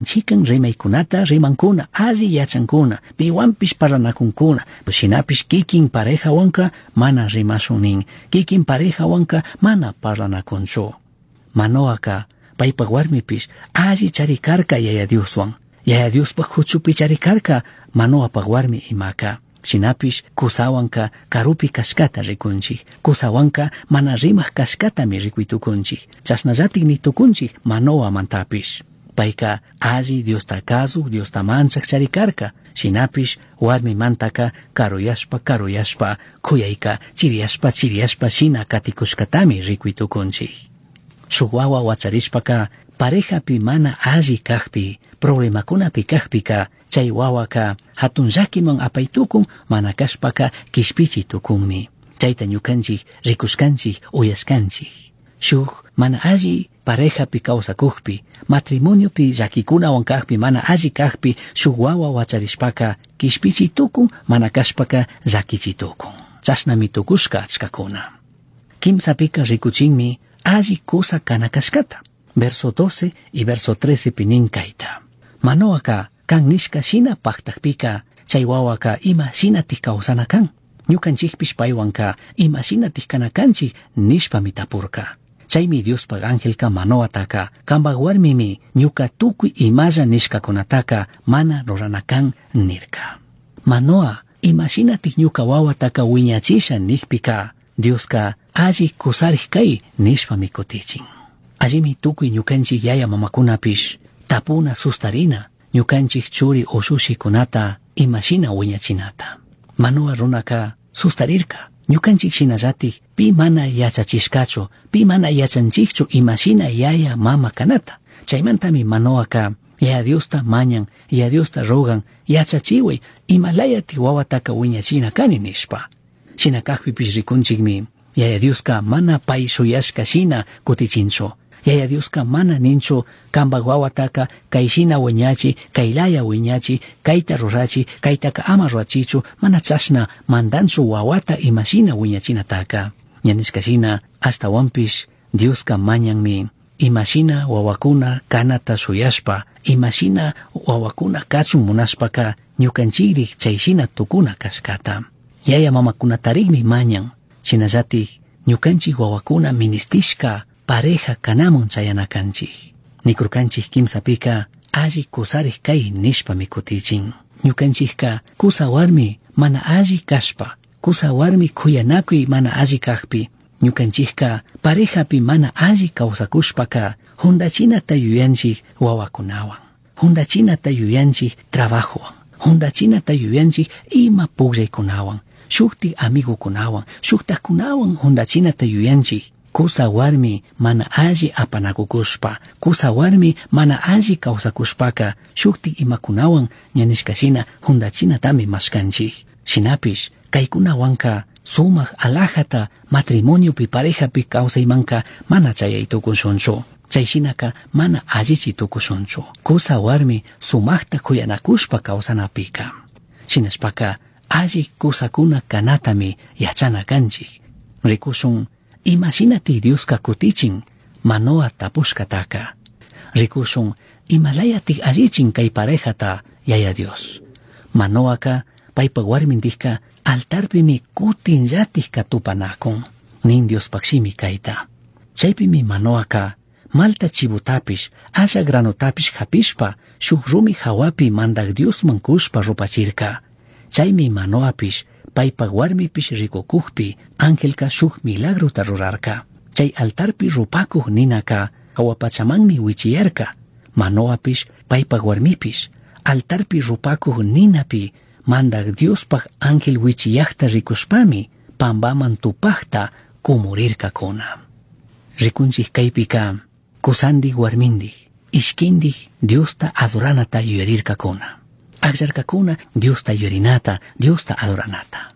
Chikan rimaykunata rimankuna, alli yachankuna, piwanpish parlanakunkuna, shinapish kikin parejawanka mana rimashun nin, kikin parejawanka mana parlanakunchu. Manoaka paypak warmipish alli charikarka Yaya Dioswan, Yaya Diospak huchupi charikarka Manoapak warmi imaka. Shinapish kusawanka karupi kashkata rikunchik, kusawanka mana rimak kashkatami rikuytukunchik, chashnallatik nitukunchik Manoamantapish. Payka alli Diosta kazuk, Diosta manchak charikarka, shinapish warmimantaka karuyashpa karuyashpa kuyayka chiriyashpa chiriyashpa shina katikushkatami rikuytukunchik. Shuk wawa wacharishpaka parejapi mana alli kakpi, problemakunapi kakpika, chay wawaka hatun llakiman apaytukun, mana kashpaka kishpichi tukunmi. Chayta ñukanchik rikushkanchik, uyashkanchik. Shuk mana alli parejapi kawsakukpi, matrimoniopi llakikunawan kakpi, mana alli kakpi, shuk wawa wacharishpaka kishpichi tukun, mana kashpaka llakichi tukun. Chashnami tukushka achkakuna. Kimsapika rikuchinmi alli kusa kana kashkata. Verso 12 y verso 13 pinin kayta. Manoaka kan nishka shina paktakpika, chay wawaka ima shinatik kawsana kan. Ñukanchikpish paywanka ima shinatik kana kanchik nishpami tapurka. Chaymi Diospaq angelka Manoataka kanpak warmimi ñuka tukuy imalla nishkakunataka mana rurana kan nirka. Manoa ima shinatik ñuka wawataka wiñachisha nikpika Dioska alli kusarik kay nishpami kutichin. Allimi tukuy ñukanchik yaya mamakunapish tapuna sustarina ñukanchik churi ushushikunata imashina wiñachinata. Manoa runaka sustarirka. Ñukanchik shinallatik pi mana yachachishkachu, pi mana yachanchikchu imashina yaya mama kanata. Chaymantami Manoaka Yaya Diosta mañan, Yaya Diosta rogan, yachachiway imalayatik wawataka wiñachina kani nishpa. Shina kakpipish rikunchikmi Yaya Dioska mana pay shuyashka shina kutichinchu. Yaya Dioska mana ninchu kanpak wawataka kayshina wiñachi, kaylaya wiñachi, kayta rurachi, kaytaka ama rurachichu, mana chashna mandanchu wawata imashina wiñachinataka. Ña nishka shina ashtawanpish Dioska mañanmi imashina wawakuna kanata shuyashpa, imashina wawakuna kachun munashpaka ñukanchikrik chayshina tukuna kashkata. Yaya mamakunatarikmi mañan, shinallatik ñukanchik wawakuna ministishka pareja kanamun chayana kanchik. Nikurkanchik kimsapika alli kusarik kay nishpami kutichin. Ñukanchikka kusa warmi mana alli kashpa, kusa warmi kuyanakuy mana alli kakpi, ñukanchikka parejapi mana alli kawsakushpaka juntachinata yuyanchik wawakunawan, juntachinata yuyanchik trabajowan, juntachinata yuyanchik ima pukllaykunawan, shuktik amigukunawan, shuktakkunawan juntachinata yuyanchik. Kusa warmi mana alli apanakukushpa, kusa warmi mana alli kawsakushpaka shuktik imakunawan ña nishka shina juntachinatami mashkanchik. Shinapish kaykunawanka sumak alajata matrimoniopi parejapi kawsaymanka mana chayay tukushunchu. Chay shinaka mana allichi tukushunchu. Kusa warmi sumakta kuyanakushpa kawsanapika. Shinashpaka alli kusakuna kanatami yachana kanchik. Rikushun imashinatik Dioska kutichin Manoa tapushkataka. Rikushun imalayatik allichin kay parejata Yaya Dios. Manoaka paypak warmindikka altarpimi kutinllatik tupanakun. Nin Diospaq shimi kayta. Chaypimi Manoaka malta chivutapish, asha granotapish hapishpa, shuk rumi hawapi mandak Diosman kushpa rupachirka. Chaymi Manoapish paypak warmipish rikukukpi angelka shuk milagrota rurarka. Chay altarpi rupakuq ninaka hawapachamanmi wichiyarka. Manoapish paypak warmipish altarpi rupakuq ninapi mandak Diospaq ángel wichiyaqta rikushpami pambaman tupaqta kumurirkakuna. Rikunchik kaypika kusandik warmindik ishkindik Diosta adoranata yuyarirkakuna. Akllarkakuna Diosta yuyarinata, Diosta adoranata.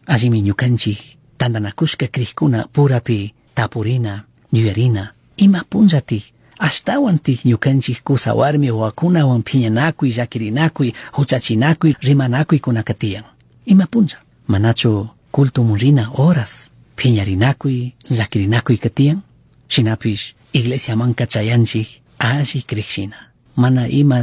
Allimi ñukanchik tantanakushka krikuna purapi tapurina, yuyarina, ima punllatik ashtawantik ñukanchik kusa warmi wawakunawan phiñanakuy, llakirinakuy, huchachinakuy, rimanakuykunaka tiyan. Ima punlla, manachu cultomun rina horas phiñarinakuy, llakirinakuyka tiyan? Shinapish iglesiamanka chayanchik alli krikshina. Mana ima.